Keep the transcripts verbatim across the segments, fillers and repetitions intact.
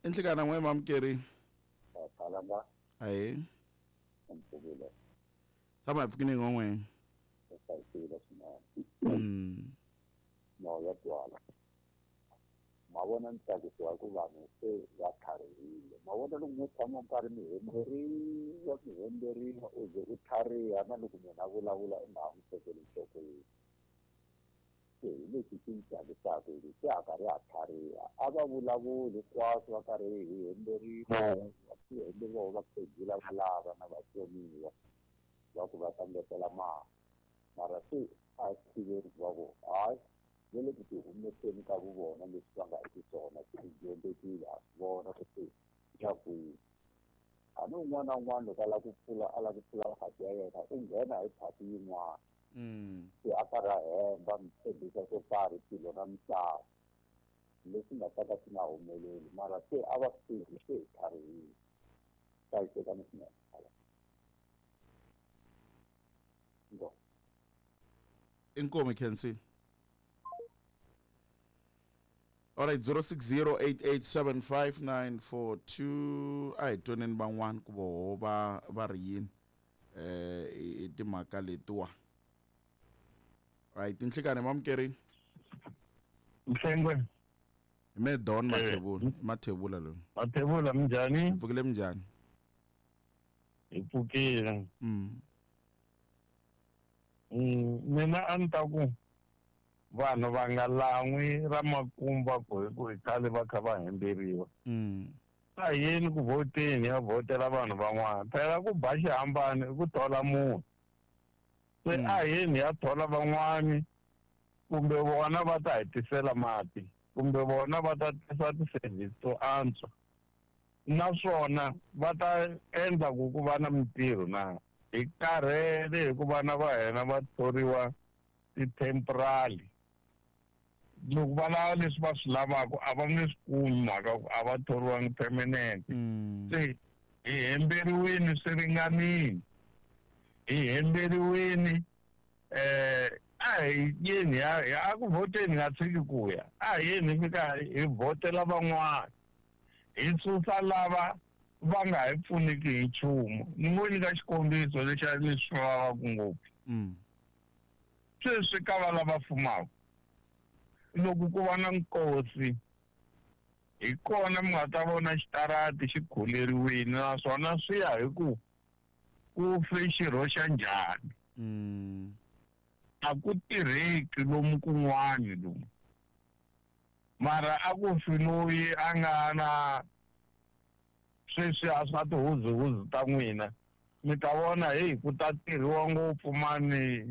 Inhlekana n'we mamukeri. Kalanga. Ayi. Mpfukile. Tshama hi pfukile n'we. Mm. No ya twala. Ma vona ni tsakisiwa hi ku vanhu se va tlharihile. Ma vona loko mi tshama nkarhi mi hemberiwa mi hemberiwa u ze u tlhariha na loko munhu a vulavula u nga ha n'wi tekeli enhlokweni. Se hi lexi xi ni tsakisaka hi ku se a karhi a tlhariha a va vulavuli hinkwaswo va karhi hi hemberiwa va hemberiwa vakhegula va lava na vatsoniwa va ku va ta ngetela mali mara se a tiveri va ku hayi va le ku ti humeseni ka vuvona leswi va nga xiswona swi dyondzekile a swi vona ku se ya kwihi a ni un'wana na un'wana loko a lava ku pfula a lava ku pfula phati ya yena u nghena hi phati yin'wana se a karhi a hemba mi tshembisa swo karhi tilo na misava leswi nga ta ka swi nga humeleli mara se a va swi tivi se hi tlharihile hlayisekani swinene ngo. Inkomo Kensi. All right, zero six zero eight eight seven five nine four two. A hi twaneni van'wana ku voho va va ri yini eh i timhaka letiwa. Right, inhlekani mamukeri. Mhlengwe. Hi me Don Mathebula, Mathebula loyi. Mathebula minjhani? Pfukile minjhani? Hi pfukile. Mm. Mm, mina a ni ta ku vanhu va nga lan'wi ra makumba ku hi ku hi khale va kha va hemberiwa. Mm. A hi yeni ku vhoteni ya vhotela vanhu van'wana phela ku ba xihambano i ku thola munhu se a hi yeni ya thola van'wani kumbe vona va ta hi tisela mati kumbe vona va ta tisa ti-service to antswa naswona va ta endla ku ku va na mintirho na hi karhele hi ku vana va hina va thoriwa ti-temporary loko va lava leswi va swi lavaka a va nge swi kumi mhaka ku a va thoriwangi permanent. Se hi hemberiwini swi ringanile hi hemberiwini eh a hi yeni a ku vhoteni nga tshiki ku ya a hi yeni hi fika hi vhotela van'wana hi susa lava va nga hi pfuniki hi nchumu. Ni ngo nyika xikombiso lexi leswi vavaka ngopfu. Sweswi ka va lava fumaka loko ku va na nkosi hi kona mi nga ta vona xitarati xi khuleriwile naswona swi ya hi ku ku fe xirho xa njhani. A ku tirheki lomu kun'wani lomu mara a ku fi loyi a nga na sweswi a swa tihuzuhuzu ta n'wina mi ta vona heyi ku ta tirhiwa ngopfu mani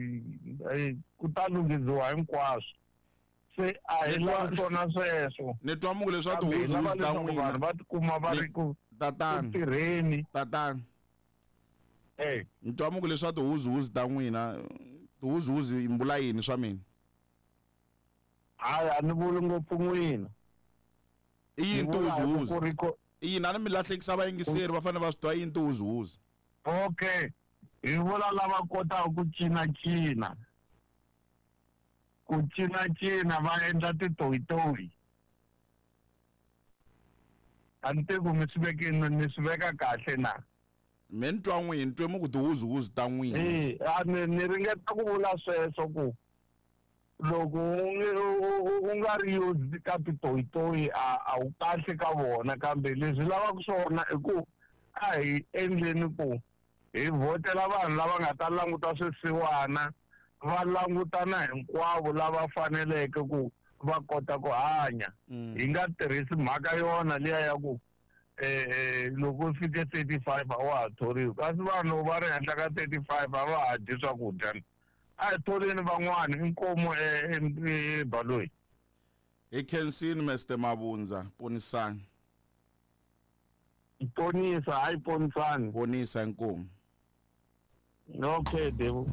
ku ta lunghiziwa hinkwaswo se a hi lavi swona sweswo. Ni twa mungu leswaku tihuzuhuzu ta n'wina vanhu va tikuma va ri ku tatana tirheni tatana eh ni twa mungu leswaku tihuzuhuzu ta n'wina tihuzuhuzu yi mbula yini swa mina? Hayi a ni vuli ngopfu n'wina. I yini tihuzuhuzu? I yini a ni mi lahlekisa vayingiseri va fanele va swi twa yini tihuzuhuzu? Okay, hi vula lava kotaka ku cinacina ku cinacina va endla titoyitoyi a ni tivi ku mi swi vekini ni swi veka kahle na me ni twa n'wini twe mu ku tihuzuhuzu ta n'wina. E a ni ni ringeta ku vula sweswo ku loko u nga ri use ka titoyitoyi a a wu kahle ka vona kambe leswi lavaka swona i ku a hi endleni ku hi vhotela vanhu lava nga ta languta swisiwana va langutana hinkwavo lava faneleke ku va kota ku hanya. Hi nga tirhisi mhaka yona liya ya ku eh loko u fike thirty five a wa ha thoriwi kasi vanhu va ri henhla ka thirty five a va ha dyi swakudya a hi tholeni van'wana inkomu ebaloyi. Hi khensini Mister Mabundza ponisani. Ponisa hayi ponisani. Ponisa inkomu. Okay Devu.